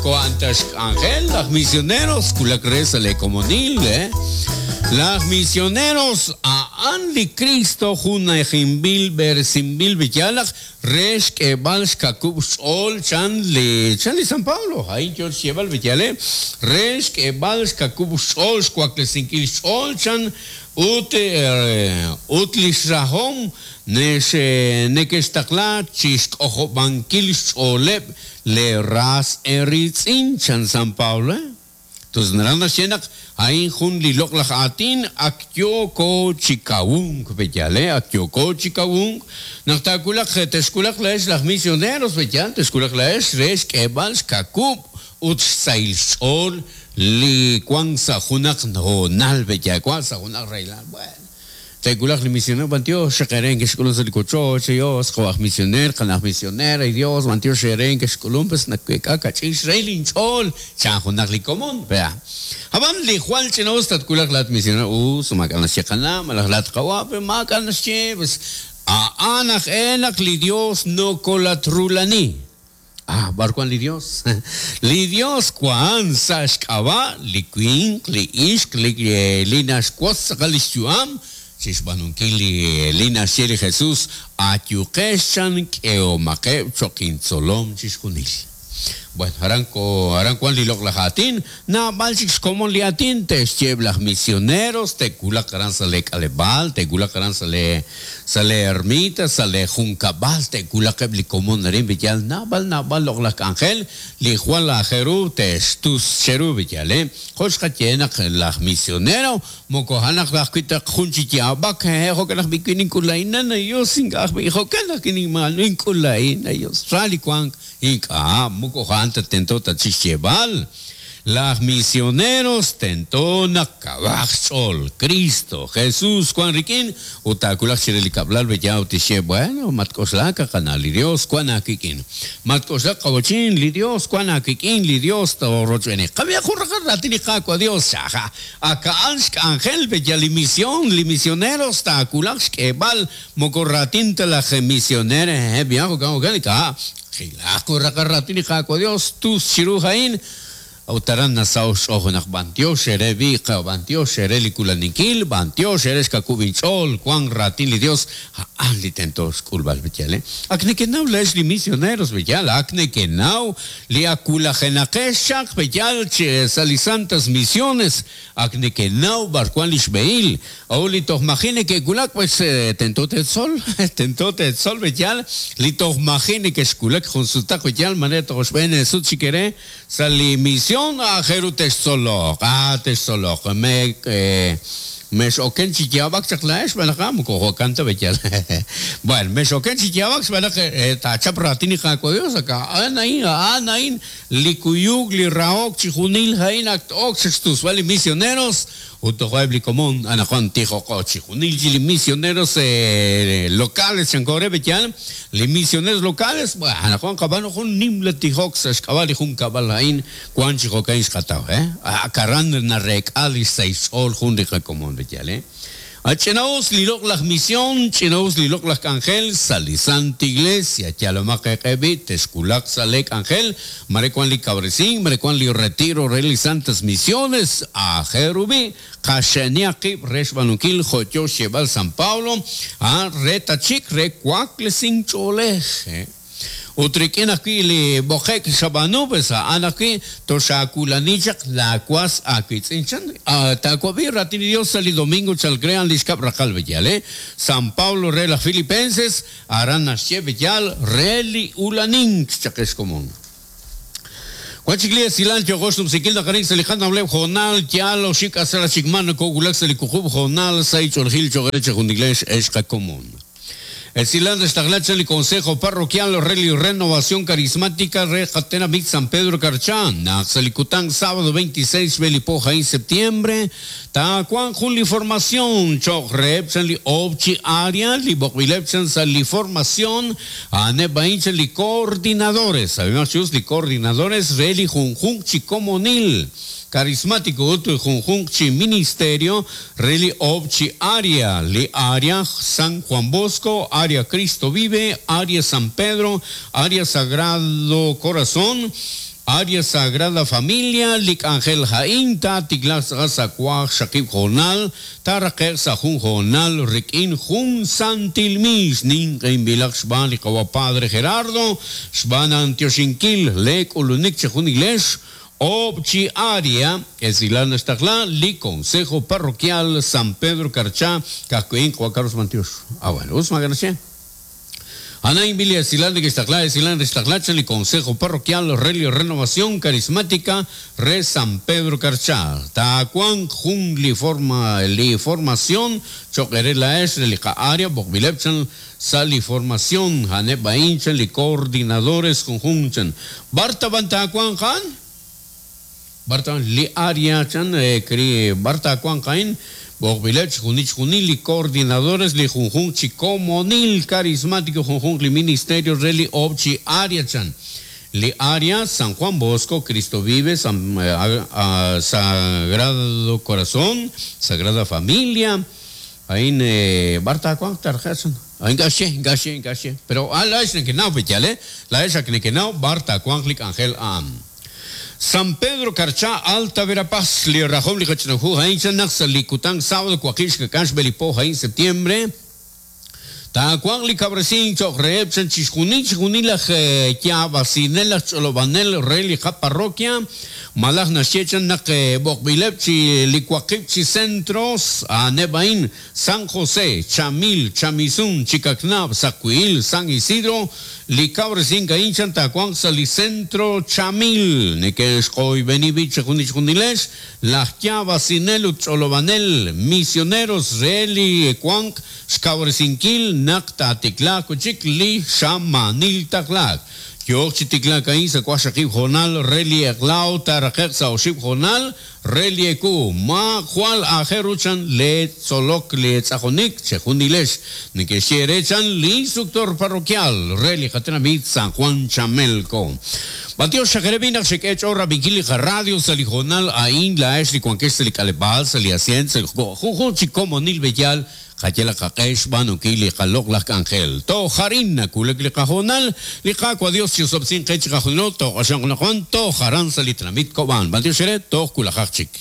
Wan ta xk'anjel laj misioneros wulak re sa' lee komonil, eh? Laj misioneros a'an li Kristo junajinb'il b'eresinb'il b'iyalaq re xk'eeb'al xkakub' xch'ool chan li chan li San Pablo, a'in yoo xyeeb'al b'iyal, eh? Re xk'eeb'al xkakub' xch'ool xwaklesinkil xch'ool chan ut ut lix rahom nex nekextaqla chixk'ojob'ankil xch'ooleb' Lee ras eeriitz'in, chan San Pablo. Tus naraj naxye naq a'in jun li loq'laj aatin ak yooko chi kawunk, pe'yaal, ak yooko chi kawunk naq taawulaq, texwulaq laa'ex laj misioneros, pe'yaal, texwulaq laa'ex re xk'eeb'al xkakub' ut xsahil xch'ool li wank sa' junaq hoonal, pe'yaal, wank sa' junaq rahilal. Bueno. Te'wulaq li misioneer, b'antiox xaq eere nekexk'ulunk sa' li wochoch, Dios, jo' aj misioneer, qana' aj misioneer, ay Dios, b'antiox eere nekexk'ulunk, pues naweek'a kach'in xrahil inch'ool, chan junaq li komon, pe'. Ab'an li jwal ch'ina-us tatwulaq laa'at misioneer, us, maak'a' naxye qana' malaj laa'at qawa', pe maak'a' naxye, pues a'an aj-e naq li Dios nokolatrulani. Ah, b'ar wank li Dios? Li Dios wank sa' xk'ab'a' li winq, li ixq, li, li naxwotz tz'aqal lix yu'am chixb'aanunkil li, li naxye li Jesus, Ayuqex chan k'ehomaqeb' cho'q intzolom chixjunil. Bueno, aran ko, aran wank li loq'laj aatin, naab'al chik xkomon li aatin te'xye eb' laj misioneros, te'wulaq aran sa' lee k'aleb'aal, te'wulaq aran sa' lee Sa' lee ermita, sa' lee junkab'al te'wulaq eb' li komon arin b'iyal naab'al naab'al loq'laj k'anjel li jwal aajel ru te'xtus cheru b'iyal e. Jo' xqaye naq laj misionero moko a'anaq ta ajwi' taq jun chi yaab'ak, hehe' jo'kan aj b'i' wi' nink'ul laa'in, nan Dios ink'a' ajwi' jo'kan ajwi' ninmaal nink'ul laa'in, ay Dios, ra li wank, ink'a' moko a'an ta tento ta chixyeeb'al. Laj misioneros tento naq kawaq xch'ool. Kristo, Jesus, wan rik'in ut taawulaq chire li kab'lal b'eya ut tixye, Bueno, matk'oxlak, qana', li Dios wan aawik'in. Matk'oxlak, qawachin, li Dios wan aawik'in, li Dios toorochb'eeni. Qab'ihaq jun raqal raatin li Qaawa' Dios, chaja. Ak a'an xk'anjel b'eya li mision, li misioneros taawulaq xk'eeb'al moko raatin ta laj misioner, hehe, b'ihaq, jo'kan, jo'kan, ink'a'. Qilaq jun raqal raatin li Qaawa' Dios tus chiru a'in, a'ut aran nasaho' xch'ool junaq b'antiox eere b'i', b'antiox eere li kulaninkil, b'antiox eere xkawub' inch'ool, wank raatin li Dios, a'an li tento xk'ulb'al b'iyal. Ak nekenaw laa'ex li misioneros b'iyal, ak nekenaw li ak wulajenaqex chaq b'iyal sa' li Santas Misiones, Ak nekenaw b'ar wank li xb'ehil. A'ut li toj maji' neke'wulak, pues tento teetzol, tento teetzol b'eyal li toj maji' nekexwulak jun sutaq b'eyal mare toj xb'een eesut chik eere sa' li mision, aajel ru textzoloq, ah textzoloq, me mex'oken chi yaab'ak chaq laa'ex xb'aan naq moko jo'kan ta b'eyal. Bueno, mex'oken chi yaab'ak xb'aan naq taachap raatin li Qaawa' Dios, ak a'an a'in, a'an a'in Li kuyuk, li rahok, chijunil a'in ak t-ok sa' xtusb'al li misioneros ut tojo' eb' li komon anaqwan tijoqo chijunil chi li misioneros locales chanko re b'eyal, li misioneros locales, anaqwan qab'aanu jun nimla tijok sa' xk'ab'a' li junkab'al a'in wan chi jo'ka'in xqataw, ak aran nareek'a li xsahil xch'ool jun li qakomon b'eyal. A Ch'ina'us li loq'laj mision, ch'ina'us li loq'laj k'anjel sa' li Sant Iglesia. Yalomaq eeq'e b'i' texwulaq sa' lee k'anjel, mare wan li kawresink, mare wan li retiro re li Santas Misiones. Aajel ru b'i' qaxe'nihaq qib' re xb'aanunkil jo' yoo xyeeb'al San Pablo, a re ta chik re waklesink ch'oolej. Ut rik'in ajwi' li b'oqe'k xab'aanu, pues a'an ajwi' toxaawulani chaq laawas aawiitz'in, chan. Taawab'i raatin li Yos sa' li domingo chalk re a'an li xkab' raqal b'eyal, San Pablo re laj Filipenses, aran naxye b'eyal re li ulanink chaq ex komon. Wan chik li esilal yooqo xnumsinkil naq arin sa' li qanawleb' hoonal yaal oxib' k'asal chik ma nokowulak sa' li wuqub' hoonal sa' ich'oolejil cho'q re chejunilex ex qakomon. Esilal naxtaqla chaq li Consejo Parroquial re li Renovación Carismática re qatenamit San Pedro Carchá, naq sa' li kutan sábado 26 xb'e li po a'in septiembre, taawanq jun li formación cho'q reheb' chan li oob' chi área li b'oqb'ileb' chan sa' li formación, a'aneb' a'in chan li coordinadores, ab'imaq chi us li coordinadores re li junjunq chi komonil carismático ut junjunq chi ministerio Re li oob' chi área, li área San Juan Bosco, área Cristo Vive, área San Pedro, área Sagrado Corazón, Área Sagrada Familia, li k'anjel ha'in taatiklaaq tz'aqal sa' waqxaqib' hoonal, taaraqe'q sa' jun hoonal rik'in jun santil miix ninq'ehinb'ilaq xb'aan li qawa' Padre Gerardo, xb'aan antioxinkil le k'ulunik chejunilex, oob' chi área, esilal naxtaqla li Consejo Parroquial San Pedro Carchá, ka'ajwi'in qawa' Carlos Mantiox. Ah, bueno, us maak'a' naxye. A'an li esilal neke'xtaqla esilal naxtaqla chan li Consejo Parroquial re li Renovación Carismática re San Pedro Carchá. Taawanq jun li forma li formación cho'q eere laa'ex re li qa'área b'oqb'ileb' chan sa' li formación a'aneb' a'in chan li coordinadores junjunq chan. B'ar ta b'an taawanq a'an? B'ar ta li área chan b'ar taawanq a'in? B'oqb'ileb' chixjunil chixjunil li coordinadores li junjunq chi komonil carismático junjunq li ministerio re li oob' chi área chan. Li área San Juan Bosco, Cristo Vive, San Sagrado Corazón, Sagrada Familia, a'in b'ar taawanq tarqe' chan. Ink'a' xye, ink'a' xye, ink'a' xye. Pero a laa'ex nekenaw pe yaal, laa'ex ak nekenaw b'ar taawanq li k'anjel a'an. San Pedro Carchá, Alta Verapaz, li rajom li qach'ina hu a'in chan naq sa' li kutan sábado waqib' xkak'al xb'e li po a'in septiembre, taawanq li kawresink cho'q reheb' chan chixjunil chixjunil laj yaab'asinel laj ch'olob'anel re li qaparroquia, malaj naxye chan naq b'oqb'ileb' chi li waqib' chi centros a'aneb' a'in, San José, Chamil, Chamisun, Chicacnab, Sacuil, San Isidro, li kawresink a'in chan taawanq sa' li centro Chamil, neke'xq'oyb'eni b'i' chixjunil chixjunilex, laj yaab'asinel ut ch'olob'anel, misioneros re li wanq xkawresinkil naq taatiklaaq wi' chik li xamaanil taqlaak. Yooq chi tiklaak a'in sa' waqxaqib' hoonal re li eq'la ut taaraqe'q sa' oxib' hoonal re li ewu. Ma jwal aajel ru chan le tzolok le tz'aqonik chejunilex neke'xye eere chan li instructor parroquial re li qatenamit San Juan Chamelco. B'antiox xaq eere b'i' naq xek'e ch'ool rab'inkil li qaradio sa' li hoonal a'in laa'ex li wankex sa' li k'aleb'aal, sa' li asyent, sa' li junjunq chi komonil b'eyal Qayalaq qaq'e xb'aanunkil li qaloq'laj k'anjel. Toj arin nawulak li qahoonal, li Qaawa' Dios chi'osob'tesinq qe chiqajunilo, tooq'axonq anaqwan toj aran sa' li tenamit Kob'an. B'antiox eere, toj wulajaq chik.